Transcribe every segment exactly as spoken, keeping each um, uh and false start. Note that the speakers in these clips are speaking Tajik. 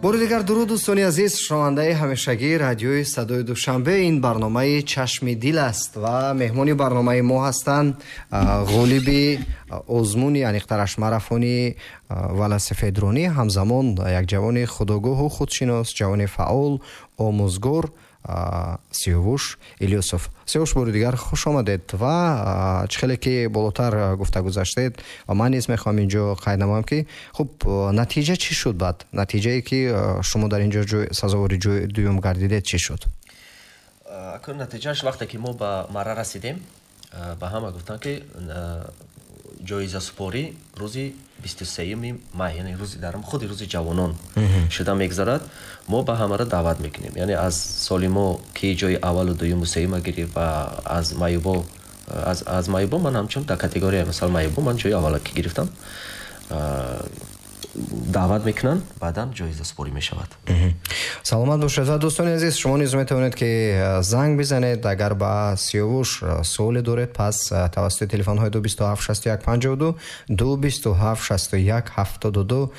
Бори дигар дуруд, дӯстони азиз, шунавандаи ҳамешагии радиои Садои Душанбе. Ин барномаи Чашми дил аст ва меҳмони барномаи мо ҳастанд ғолиби озмуни, аниқтараш марафони велосипедронӣ, ҳамзамон як ҷавони худогоҳу худшинос, ҷавони фаъол, омӯзгор Сиёвуш Илёсов. Сиёвуш, бори дигар хуш омадед ва чӣ хеле ки болотар гуфта гузаштед ва ман низ мехоҳам инҷо қайд намоям, ки хуб, натиҷа чӣ шуд? Баъд натиҷае ки шумо дар инҷо сазовори ҷои дуюм гардидед, чӣ шуд? Акун натиҷааш, вақте ки мо ба марра расидем, ба ҳама гуфтанд, ки ҷоизасупорӣ рӯзи бисту сеюми май, яъне рӯзи дар худи рӯзи ҷавонон шуда мегузарад, мо ба ҳамаро даъват мекунем, яъне аз солимо ки ҷои аввалу дуюму сеюма гирифт ва аз маъюбо, аз, аз маъюбо ман ҳамчун дар категория, масалан, маъюбо ман ҷои аввала ки гирифтам, даъват мекунанд, баъдан ҷоизасупорӣ мешавад. Саломат бошед. Ва дӯстони азиз, шумо низ метавонед, ки занг бизанед, агар ба Сиёвуш суоле доред, пас тавассути телефонҳои ду бисту ҳафт шасту як панҷоҳу ду, ду бисту ҳафт шасту як ҳафтоду ду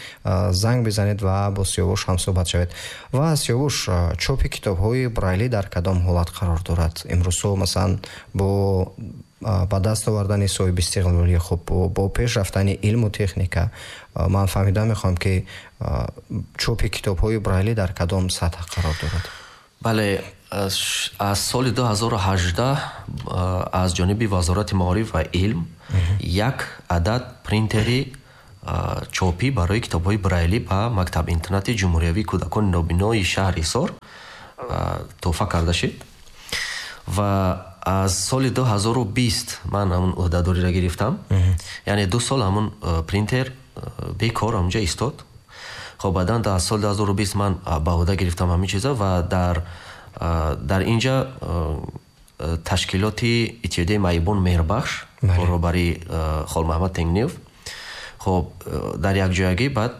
занг бизанед ва бо Сиёвуш ҳамсӯҳбат шавед. Ва Сиёвуш, чопи китобҳои брайлӣ дар кадом ҳолат қарор дорад имрӯзҳо, масалан, бо ба даст овардани соҳиби истиқлолӣ, хуб, бо пеш рафтани илму техника? Ман фаҳмида мехоҳам, ки чопи китобҳои брайлӣ дар кадом сатҳ қарор дорад. Бале, аз соли ду ҳазору ҳаждаҳ аз ҷониби Вазорати маориф ва илм як адад принтери чопӣ барои китобҳои брайлӣ ба мактаб-интернати ҷумҳуриявии кӯдакони нобинои шаҳри Ҳисор тӯҳфа карда шид ва аз соли ду ҳазору бист ман ҳамун ӯҳдадориро гирифтам, яъне ду сол ҳамун принтер бекор ҳамунҷа истод. Хоб, баъдан дар соли ду ҳазору бист ман ба ӯҳда гирифтам ҳамин чиза ва дар дар инҷа ташкилоти Иттиҳодияи маъюбон Меҳрбахш бо роҳбарии Холмаҳмад Тенгниев, хоб, дар якҷоягӣ баъд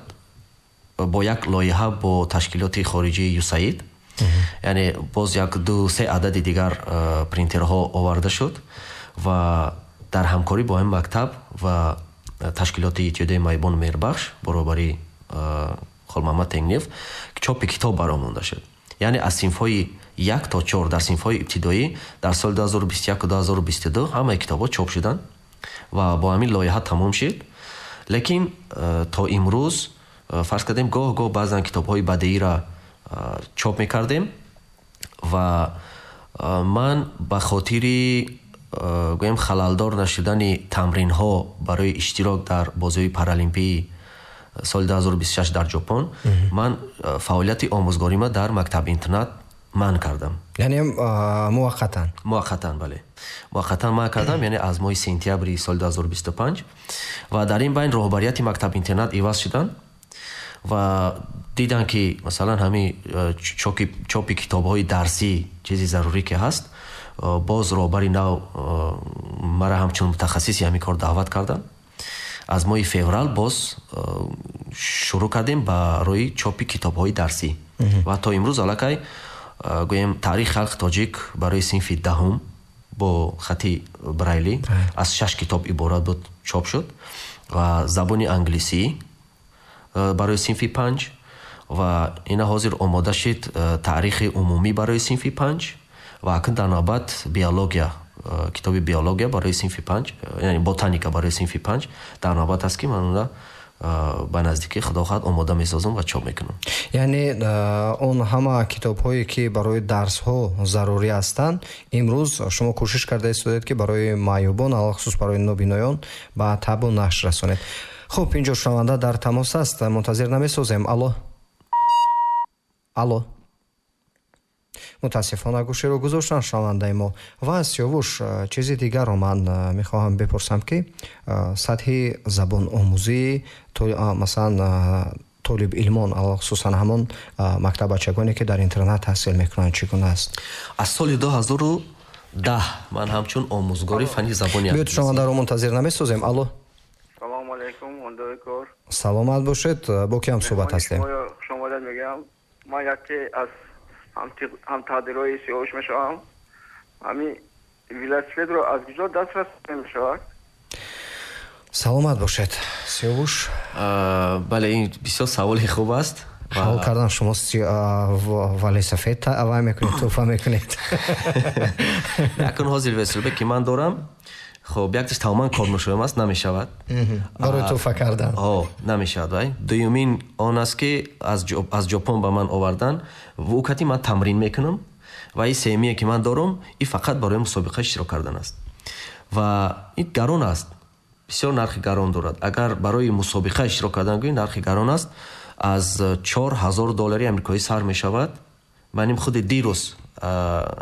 бо як лоиҳа бо ташкилоти хориҷии ЮСАИД, яъне боз як ду се адади дигар принтерҳо оварда шуд ва дар ҳамкорӣ бо ҳамин мактаб ва ташкилоти Иттиҳодияи маъюбон Меҳрбахш бо роҳбарии Холмаҳмад Тенгниев чопи китоб баромонда шуд, яъне аз синфҳои як то чор, дар синфҳои ибтидоӣ дар соли ду ҳазору бисту яку ду ҳазору бисту ду ҳамаи китобҳо чоп шуданд ва бо ҳамин лоиҳа тамом шуд. Лекин то имрӯз, фарз кардем, гоҳ гоҳ баъзан китобҳои бадеиро чоп мекардем ва ман ба хотири, гӯем, халалдор нашудани тамринҳо барои иштирок дар бозиҳои паралимпии соли ду ҳазору бисту шаш дар Ҷопон, ман фаъолияти омӯзгорима дар мактаб-интернат манъ кардам. Яъне муваққатан? Муваққатан, бале, муваққатан манъ кардам, яъне аз моҳи сентябри соли ду ҳазору бисту панҷ. Ва дар ин байн роҳбарияти мактаб-интернат иваз шуданд ва диданд, ки масалан ҳамин чопи китобҳои дарсӣ чизи зарурӣ ки ҳаст. Боз роҳбари нав мара ҳамчун мутахассиси ҳамин кор даъват карданд. Аз моҳи феврал боз шурӯъ кардем барои чопи китобҳои дарсӣ ва то имрӯз аллакай, гӯем, Таърихи халқи тоҷик барои синфи даҳум бо хати брайлӣ аз шаш китоб иборат буд, чоп шуд ва забони англисӣ барои синфи панҷ ва ина ҳозир омода шид таърихи умумӣ барои синфи панҷ ва акн дар навбат биология, китоби биология барои синфи панҷ, яъне ботаника барои синфи панҷ дар навбат аст, ки ман онро ба наздикӣ, худо хоҳад, омода месозам ва чоп мекунам. Яъне он ҳама китобҳое ки барои дарсҳо зарурӣ ҳастанд, имрӯз шумо кӯшиш карда истодед, ки барои маъюбон, алахусус барои нобиноён ба табъу нашр расонед. Хуб, инҷо шунаванда дар тамос аст, мунтазир намесозем. Алло, алло! Мутаассифона, гӯширо гузоштан шунавандаи мо. Ва Сиёвуш, чизи дигарро ман мехоҳам бипурсам, ки сатҳи забономӯзии, масалан, толибилмон, алахусусан ҳамон мактаббачагоне ки дар интернат таҳсил мекунанд, чӣ гуна аст? Аз соли ду ҳазору даҳ ман ҳамчун омӯзгори фанни забони Биёед, шунавандаро мунтазир намесозем. Алло! Салому алайкум, ҳондои кор. Саломат бошед. Бо ки ҳам суҳбат ҳастем? Хушомадед мегӯям. Ман яке аз ҳамтаъдирои Сиёвуш мешавам. Ҳамин велосипедро аз куҷо дастрас мешавад? Саломат бошед, Сиёвуш. Бале, ин бисёр саволи хуб аст. Ҳал кардан шумо велосипед авай мекунед, туҳфа мекунед. Акун ҳозир велосипед ки ман дорам, хоб якташ тамоман корношоям аст, намешавад. Барои туҳфа кардан. Ҳо, намешавад вай. Дуюмин он аст ки аз аз Ҷопон ба ман овардан, ӯ кати ман тамрин мекунам ва ин сеюмие ки ман дорам, ин фақат барои мусобиқа иштирок кардан аст. Ва ин гарон аст. Бисёр нархи гарон дорад. Агар барои мусобиқа иштирок кардан гӯӣ, нархи гарон аст. Аз чор ҳазор доллари амрикоӣ сар мешавад. Ман ин худи дирӯз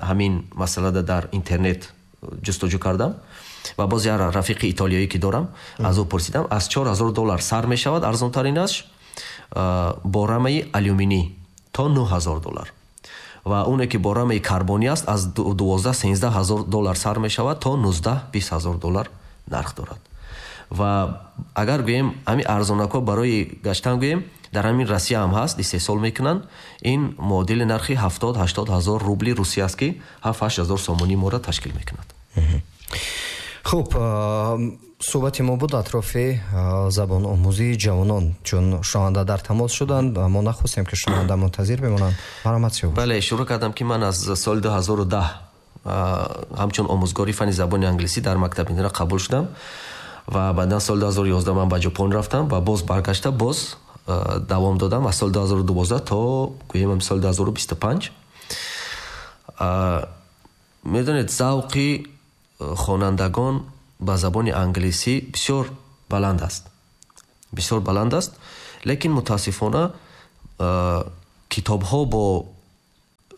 ҳамин масъалада дар интернет ҷустуҷӯ кардам ва боз як рафиқи итолиёӣ ки дорам, аз ӯ пурсидам, аз чор ҳазор доллар сар мешавад арзонтаринаш бо рамаи алюминӣ то нӯҳ ҳазор доллар. Ва оне ки бо рамаи карбонӣ аст, аз дувоздаҳ сенздаҳ ҳазор доллар сар мешавад то нуздаҳ бист ҳазор доллар нарх дорад. Ва агар гӯем ҳамин арзонакҳо барои гаштан гӯем, дар ҳамин Россия ҳам ҳаст, истеҳсол мекунанд, ин муодили нархи ҳафтод ҳаштод ҳазор рубли Русия аст ки ҳафт ҳашт ҳазор сомонӣ моро ташкил мекунад. Хуб, суҳбати мо буд атрофи забономӯзии ҷавонон, чун шунаванда дар тамос шуданд ва мо нахостем ки шунаванда мунтазир бимонанд. Марҳамат Сиёвуш. Бале, шурӯъ кардам ки ман аз соли ду ҳазору даҳ ҳамчун омӯзгори фанни забони англисӣ дар мактаби интернат қабул шудам ва баъдан соли ду ҳазору ёздаҳ ман ба Ҷопон рафтам ва боз баргашта боз давом додам аз соли ду ҳазору дувоздаҳ то гӯем соли ду ҳазору бисту панҷ. Медонед, завқи хонандагон ба забони англисӣ бисёр баланд аст. Бисёр баланд аст, лекин мутаассифона китобҳо бо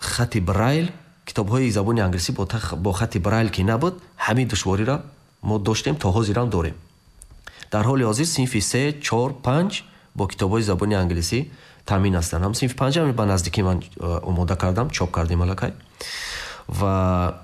хати Брайл, китобҳои забони англисӣ бо хати Брайл ки набуд, ҳамин душвориро мо доштем, то ҳозирам дорем. Дар ҳоли ҳозир синфи се, чор, панҷ бо китобҳои забони англисӣ таъмин ҳастанд. Ҳам синфи панҷам ба наздикӣ ман омода кардам, чоп кардем аллакай. Ва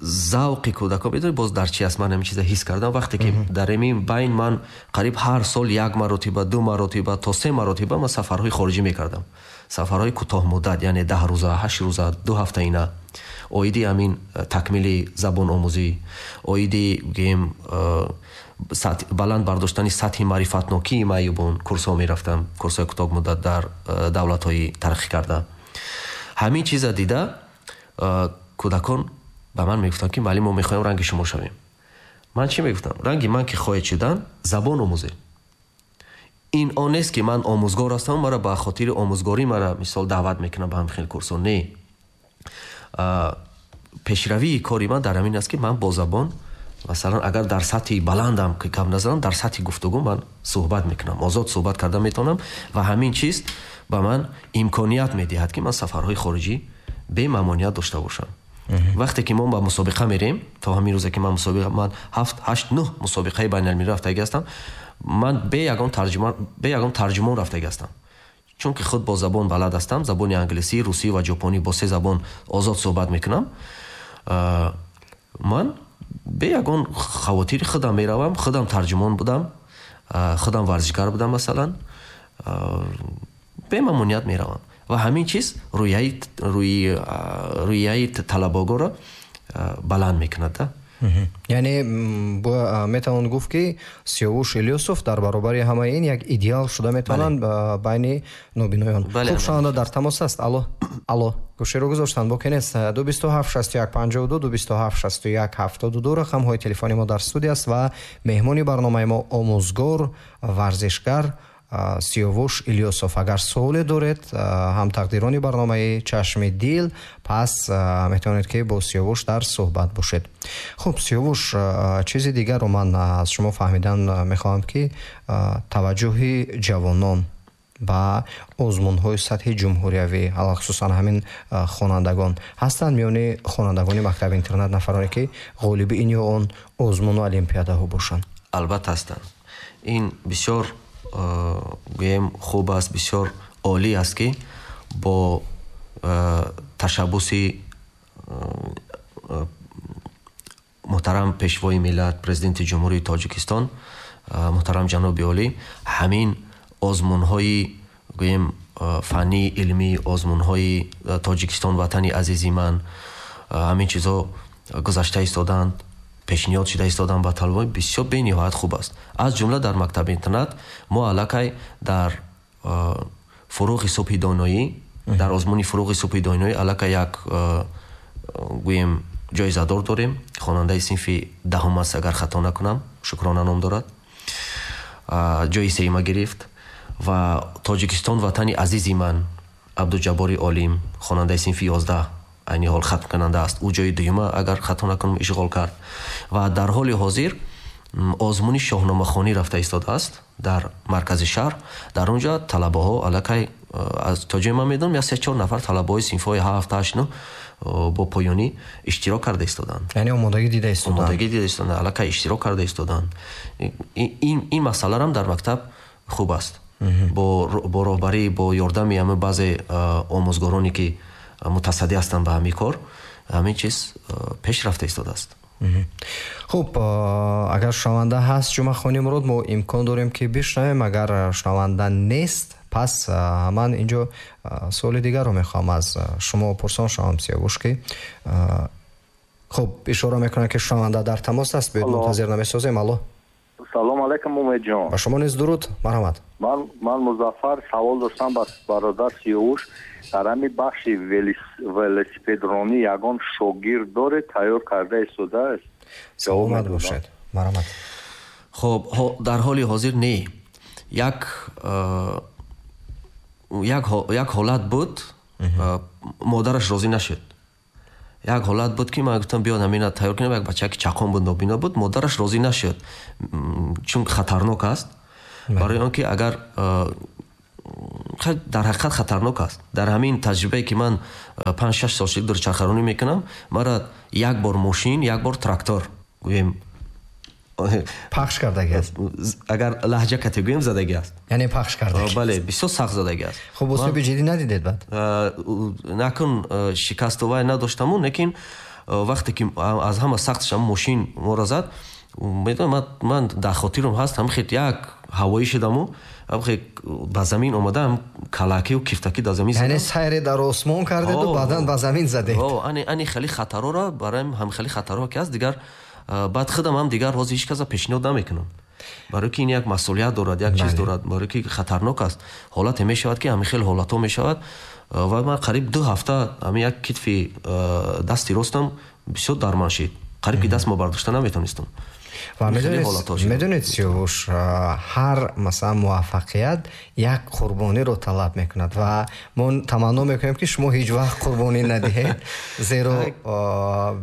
завқи кӯдакон медонед боз дар чи аст? Ман ҳамин чиза ҳис кардам вақте ки дар ҳамин байн ман қариб ҳар сол як маротиба, ду маротиба то се маротиба ман сафарҳои хориҷӣ мекардам. Сафарҳои кӯтоҳмуддат, яъне даҳ рӯза, ҳашт рӯза, ду ҳафта ина. Оиди ҳамин такмили забономӯзӣ, оиди гӯем баланд бардоштани сатҳи маърифатнокии маъюбон курсҳо мерафтам, курсҳои кӯтоҳмуддат дар давлатҳои тараққӣ карда. Ҳамин чиза дида кӯдакон ба ман мегуфтанд ки муаллим, мо мехоҳем ранги шумо шавем. Ман чӣ мегуфтам? Ранги ман ки хоҳед шудан, забон омӯзед. Ин он нест ки ман омӯзгор ҳастам, маро ба хотири омӯзгорӣ мара мисол даъват мекунам ба ҳамин хел курсҳо. Не. Пешравии кори ман дар ҳамин аст ки ман бо забон, масалан, агар дар сатҳи баландам ки кам назанам, дар сатҳи гуфтугӯ ман суҳбат мекунам, озод суҳбат карда метавонам ва ҳамин чиз ба ман имконият медиҳад ки ман сафарҳои хориҷӣ бемамоният дошта бошам. Вақте ки мо ба мусобиқа мерем, то ҳамин рӯзе ки ман мусобиқа, ман ҳафт, ҳашт, нӯҳ мусобиқаи байналмилалӣ рафтагӣ ҳастам, ман бе ягон тарҷумон, бе ягон тарҷумон рафтагӣ ҳастам. Чунки худ бо забон балад ҳастам, забони англисӣ, русӣ ва ҷопонӣ бо се забон озод суҳбат мекунам. Ман бе ягон хавотири худам меравам, худам тарҷумон будам, худам варзишгар будам масалан, бемамоният меравам. Ва ҳамин чиз рӯяи рӯяи талабогоро баланд мекунад. Яъне метавон гуфт ки Сиёвуш Илёсов дар баробари ҳамаи ин як идеал шуда метавонанд байни нобиноён. Хуб, шунаванда дар тамос аст. Алло, алло, гӯширо гузоштанд, боке нест. Ду бисту ҳафт шасту як панҷоҳу ду, ду бисту ҳафт шасту як ҳафтоду ду рақамҳои телефони мо дар студия аст ва меҳмони барномаи мо омӯзгор, варзишгар Сиёвуш Илёсов. Агар суоле доред, ҳамтақдирони барномаи Чашми дил, пас метавонед ки бо Сиёвуш дар суҳбат бошед. Хуб, Сиёвуш, чизи дигарро ман аз шумо фаҳмидан мехоҳам ки таваҷҷӯҳи ҷавонон ба озмунҳои сатҳи ҷумҳуриявӣ, алахусусан ҳамин хонандагон ҳастанд миёни хонандагони мактаби интернат нафароне ки ғолиби ин ё он озмуну олимпиадаҳо бошанд. Албатта ҳастанд. Ин бисёр гӯем хуб аст, бисёр олӣ аст ки бо ташаббуси муҳтарам пешвои миллат, президенти Ҷумҳурии Тоҷикистон муҳтарам ҷаноби олӣ, ҳамин озмунҳои гӯем фаннӣ, илмӣ, озмунҳои Тоҷикистон, ватани азизи ман, ҳамин чизҳо гузашта истоданд, пешниҳод шуда истоданд ба талабаҳо, бисёр бениҳоят хуб аст. Аз ҷумла дар мактаби интернат мо аллакай дар Фурӯғи субҳи доноӣ. Дар озмуни Фурӯғи субҳи доноӣ аллакай як гӯем ҷоизадор дорем, хонандаи синфи даҳум аст, агар хато накунам, Шукрона ном дорад, ҷои сеюма гирифт. Ва Тоҷикистон ватани азизи ман, Абдуҷаббори Олим, хонандаи синфи ёздаҳ, айни ҳол хатмкунанда аст, ӯ ҷои дуюма, агар хато накунам, ишғол кард. Ва дар ҳоли ҳозир озмуни шоҳномахонӣ рафта истодааст дар маркази шаҳр. Дар он ҷо талабаҳо аллакай, аз то ҷое ман медонам, як се чор нафар талабаҳои синфҳои ҳафт, ҳашт, нӯҳ бо поёнӣ иштирок карда истоданд. Яъне омодагӣ дида истоданд. Омодагӣ дида истоданд, аллакай иштирок карда истоданд. Ин, ин масъаларам дар мактаб хуб аст. Бо, бо роҳбарӣ, бо ёрдами ҳама баъзе омӯзгороне ки мутасаддӣ ҳастанд ба ҳамин кор, ҳамин чиз пеш рафта истодааст. Хуб, агар шунаванда ҳаст, Ҷумъахони Мурод, мо имкон дорем ки бишнавем. Агар шунаванда нест, пас ман инҷо суоли дигарро мехоҳам аз шумо пурсон шавам, Сиёвуш, ки хуб ишора мекунам ки шунаванда дар тамос аст, биёед мунтазир намесозем. Алло, салом алайкум, Умедҷон. Ба шумо низ дуруд, марҳамат. Ман ман Музаффар, савол доштам ба бародар Сиёвуш. Дар ҳамин бахши велосипедронӣ ягон шогирд доред тайёр карда истодааст? Саломат бошед, марҳамат. Хуб, дар ҳоли ҳозир не. Як як як ҳолат буд, модараш розӣ нашуд. Як ҳолат буд ки ман гуфтам биёд ҳамина тайёр кунем, як бача ки чақон буд, нобино буд, модараш розӣ нашуд, чун хатарнок аст. Барои он ки агар дар ҳақиқат хатарнок аст. Дар ҳамин таҷрибае ки ман панҷ шаш сол шуд дурчархаронӣ мекунам, мара як бор мошин, як бор трактор гӯем пахш кардагӣ аст. Агар лаҳҷа кате гӯем, задагӣ аст. Яъне пахш кардагӣ. Бале, бисёр сахт задагӣ аст. Хуб, осеби ҷиддӣ надидед баъд? Накун шикасту вай надоштаму, лекин вақте ки аз ҳама сахташ ҳам мошин моро зад, медонам, ман дар хотирам ҳаст, ҳам хел як ҳавоӣ шудаму, ҳам хел ба замин омадам, калакию кифтакӣ дар замин задам. Яъне сайре дар осмон кардеду баъдан ба замин задед. Ани ани хеле хатарора, барои ҳам хеле хатарҳо ки аст, дигар баъд худам ҳам дигар ҳозир ҳеҷ каса пешниҳод намекунам. Барои ки ин як масъулият дорад, як чиз дорад, барои ки хатарнок аст. Ҳолате мешавад ки ҳамин хел ҳолатҳо мешавад ва ман қариб ду ҳафта ҳамин як китфи дасти ростам бисёр дарман шид. Қариб ки дастмо бардошта наметонистам. Ва медонед, Сиёвуш, ҳар масалан муваффақият як қурбониро талаб мекунад ва мо таманно мекунем ки шумо ҳеҷ вақт қурбонӣ надиҳед, зеро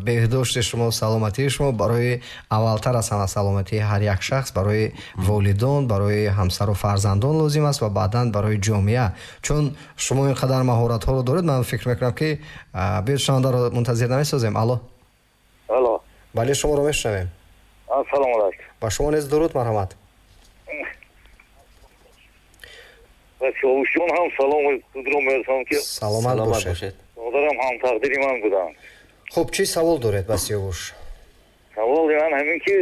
беҳдошти шумо, саломатии шумо барои аввалтар аз ҳама саломатии ҳар як шахс, барои волидон, барои ҳамсару фарзандон лозим аст ва баъдан барои ҷомеа. Чун шумо ин қадар маҳоратҳоро доред, ман фикр мекунам ки биёед шунавандаро мунтазир намесозем. Алло, алло, бале, шуморо мешунавем. Ассалому алайкум. Ба шумо низ дуруд, марҳамат. Ба Сиёвушҷон ҳам салом худро мерасонам ки саломат бошед. Модарам ҳам тақдири ман буданд. Хуб, чӣ савол доред ба Сиёвуш? Саволи ман ҳамин ки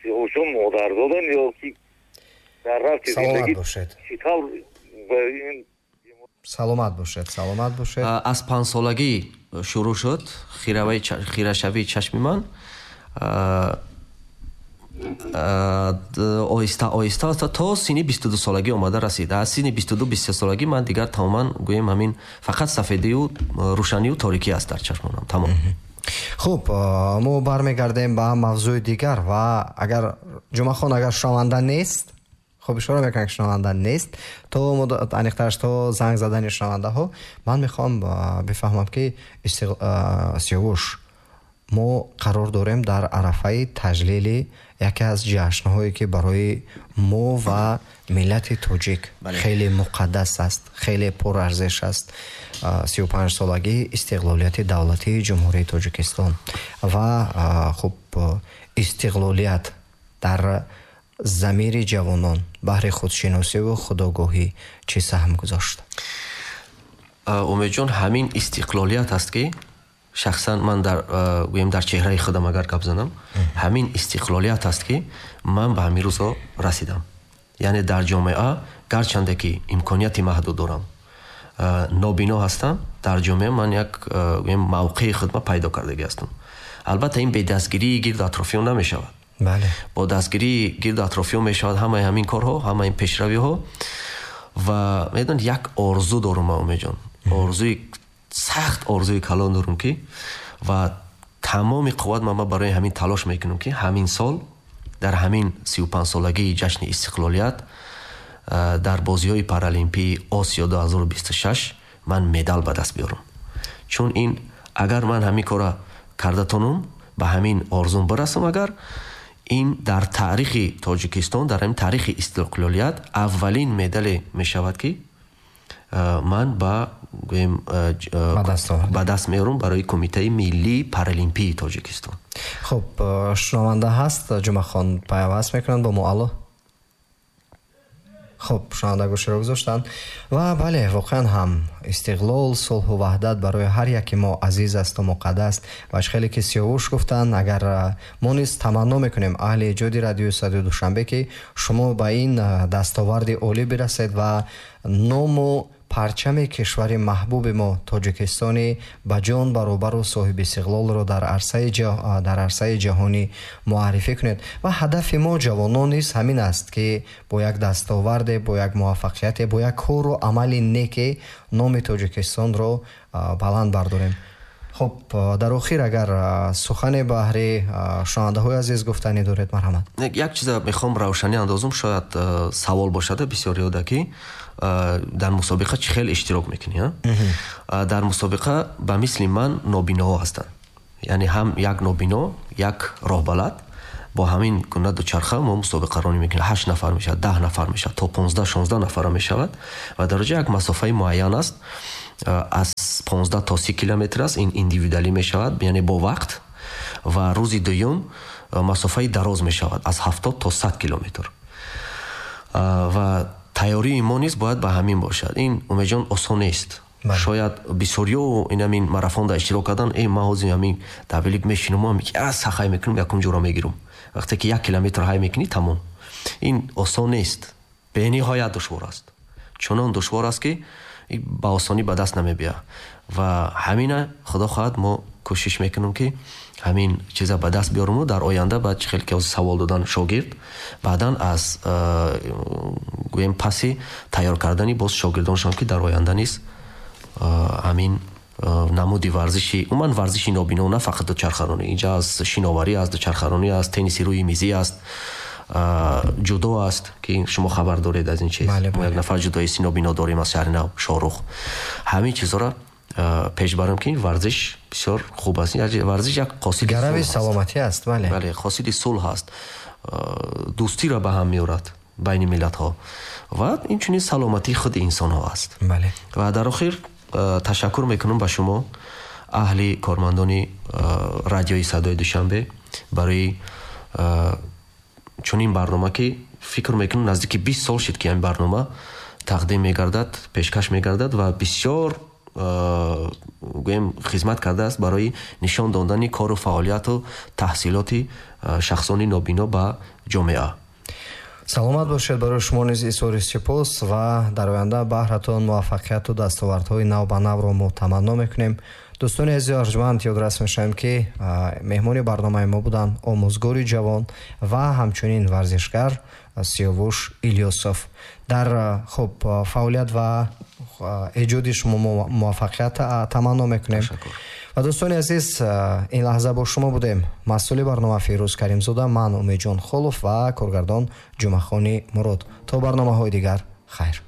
Сиёвушҷон модар доданд ё ки дар рафти зиндагӣ чӣ тавр ба ин Саломат бошед, саломат бошед. Аз панҷсолагӣ шурӯъ шуд хирашавии чашми ман. Оҳиста оҳиста то синни бисту ду солагӣ омада расид. Аз синни бисту ду бисту се солагӣ ман дигар тамоман гӯем ҳамин фақат сафедию рӯшанию торикӣ аст дар чашмонам, тамом. Хуб, мо бармегардем ба мавзӯи дигар ва агар Ҷумъахон, агар шунаванда нест, хуб ишора мекунам ки шунаванда нест, то аниқтараш то занг задани шунавандаҳо ман мехоҳам бифаҳмам ки Сиёвуш, мо қарор дорем дар арафаи таҷлили яке аз ҷашнҳое ки барои мо ва миллати тоҷик хеле муқаддас аст, хеле пурарзиш аст, сию панҷсолагии истиқлолияти давлатии Ҷумҳурии Тоҷикистон ва хуб истиқлолият дар замири ҷавонон баҳри худшиносиву худогоҳӣ чӣ саҳм гузошт? Умедҷон, ҳамин истиқлолият аст ки шахсан ман дар гӯем дар чеҳраи худам агар гап занам, ҳамин истиқлолият аст ки ман ба ҳамин рӯзҳо расидам. Яъне дар ҷомеа гарчанде ки имконияти маҳдуд дорам, нобино ҳастам, дар ҷомеа ман як гӯем мавқеи худма пайдо кардагӣ ҳастам. Албатта ин бе дастгирии гирду атрофиён намешавад. Бале. Бо дастгирии гирду атрофиён мешавад ҳамаи ҳамин корҳо, ҳамаи ин пешравиҳо. Ва медонед, як орзу дорум ман, Умедҷон, орзуи сахт, орзуи калон дорум, ки ва тамоми қувват ман барои ҳамин талош мекунам, ки ҳамин сол дар ҳамин сию панҷсолагии ҷашни истиқлолият дар бозиҳои паралимпии Осиё ду ҳазору бисту шаш ман медал ба даст биёрам. Чун ин агар ман ҳамин кора карда тонам, ба ҳамин орзум бирасам, агар ин дар таърихи Тоҷикистон, дар ҳамин таърихи истиқлолият аввалин медале мешавад, ки ман ба гӯем ба даст меорам барои Кумитаи миллии паралимпии Тоҷикистон. Хуб, шунаванда ҳаст, Ҷумъахон пайваст мекунанд бо мо. Алло. Хуб, шунаванда гӯширо гузоштанд. Ва бале, воқеан ҳам истиқлол, сулҳу ваҳдат барои ҳар яки мо азиз асту муқаддас. Ва хеле ки Сиёвуш гуфтанд, агар мо низ таманно мекунем аҳли эҷоди радиои Садои Душанбе, ки шумо ба ин дастоварди олӣ бирасед ва ному парчами кишвари маҳбуби мо Тоҷикистони ба ҷон баробару соҳиби истиқлолро дар арсаи дар арсаи ҷаҳонӣ муаррифӣ кунед. Ва ҳадафи мо ҷавонон низ ҳамин аст, ки бо як дастоварде, бо як муваффақияте, бо як кору амали неке номи Тоҷикистонро баланд бардорем. Хуб, дар охир агар сухане баҳри шунавандаҳои азиз гуфтанӣ доред, марҳамат. Як чиза мехоҳам равшанӣ андозам, шояд савол бошад бисёриёда, ки дар мусобиқа чӣ хел иштирок мекунӣ? Дар мусобиқа ба мисли ман нобиноҳо ҳастанд, яъне ҳам як нобино, як роҳбалад, бо ҳамин гуна дучарха мо мусобиқаронӣ мекунем. Ҳашт нафар мешавад, даҳ нафар мешавад, то понздаҳ шонздаҳ нафара мешавад ва дар ҷо як масофаи муайян аст, аз понздаҳ то си километр аст, ин индивидуалӣ мешавад, яъне бо вақт. Ва рӯзи дуюм масофаи дароз мешавад, аз ҳафтод то сад километр. Ва тайёрии мо низ бояд ба ҳамин бошад. Ин, Умедҷон, осон нест. Шояд бисёриё ин ҳамин марафонда иштирок кардан, э ман ҳозир ҳамин давелик мешинам, сахай мекунам, якум ҷура мегирам. Вақте ки як километр ҳай мекунӣ, тамом. Ин осон нест, бениҳоят душвор аст. Чунон душвор аст, ки ба осонӣ ба даст намебиёд. Ва ҳамина худо хоҳад мо кӯшиш мекунем, ки ҳамин чиза ба даст биёрем дар оянда. Баъд чӣ хел ки савол додан шогирд, баъдан аз гӯем паси тайёр кардани боз шогирдоншон, ки дар оянда низ ҳамин намуди варзиши, умуман варзиши нобино, на фақат дучархаронӣ, инҷа аз шиноварӣ аст, дучархаронӣ аст, тенниси рӯи мизӣ аст, ҷудо аст, ки шумо хабар доред аз ин чиз. Мо як нафар ҷудоисти нобино дорем аз шаҳри нав, Шорух. ҳамин чизҳоро пеш барам, ки варзиш бисёр хуб аст. Варзиш як қосиди гарави саломатӣ аст. Бале, бале, қосиди сулҳ аст, дӯстиро ба ҳам меорад байни миллатҳо ва инчунин саломатии худи инсонҳо аст. Бале. Ва дар охир ташаккур мекунам ба шумо, аҳли кормандони радиои Садои Душанбе, барои чунин барнома, ки фикр мекунам наздики бист сол шуд, ки ин барнома тақдим мегардад, пешкаш мегардад ва бисёр гӯем хизмат кардааст барои нишон додани кору фаъолияту таҳсилоти шахсони нобино ба ҷомеа. Саломат бошед, барои шумо низ изҳори сипос ва дар оянда баҳратон муваффақияту дастовардҳои нав ба навро мо таманно мекунем. Дӯстони азизи арҷманд, ёдрас мешавем, ки меҳмони барномаи мо буданд омӯзгори ҷавон ва ҳамчунин варзишгар Сиёвуш Илёсов. Дар хуб фаъолият ва эҷоди шумо муваффақият таманно мекунем. Ва дӯстони азиз, ин лаҳза бо шумо будем масъули барнома Фирӯз Каримзода, ман Умедҷон Холов ва коргардон Ҷумъахони Мурод. То барномаҳои дигар, хайр.